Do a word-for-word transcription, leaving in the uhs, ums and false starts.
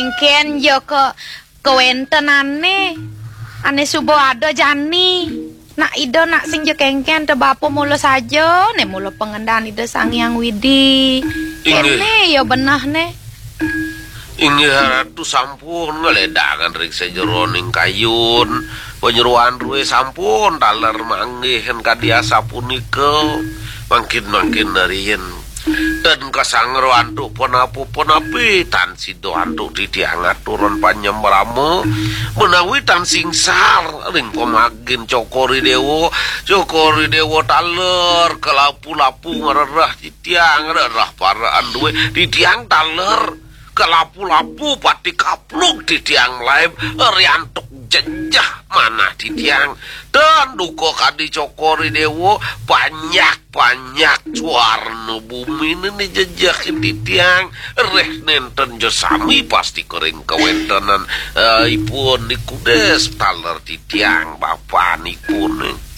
Kéngkén ya ka kawéntenané. Ané suba ada jani. Nak ida nak sing ja kéngkén, ta bapa mula saja, né mula pangendan Ida Sang Hyang Widi. Inggih. Kéné ya benehné. Inggih Ratu sampun ngledangan ring sajeroning kayun. Panyeroan drué sampun taler manggihin kadi asapunika. Mangkin-mangkin riin. Ten kasanggra antuk punapa-punapi, tan sida antuk titiang aturan panyembrama, menawi tan singsar ring pamagin Cokor I Déwa. Cokor I Déwa taler kalapu-lapu ngrereh titiang, rereh paraan drué titiang taler kalapu-lapu pati kaplug titiang malaib, riantuk jejeh manah titiang. Tan duka kadi Cokor I Déwa, panjak-panjak suarna buminé né jejehin titiang. Reh nénten ja sami pasti ka ring kawéntenan, eh, ipun niku dés taler titiang bapanipun.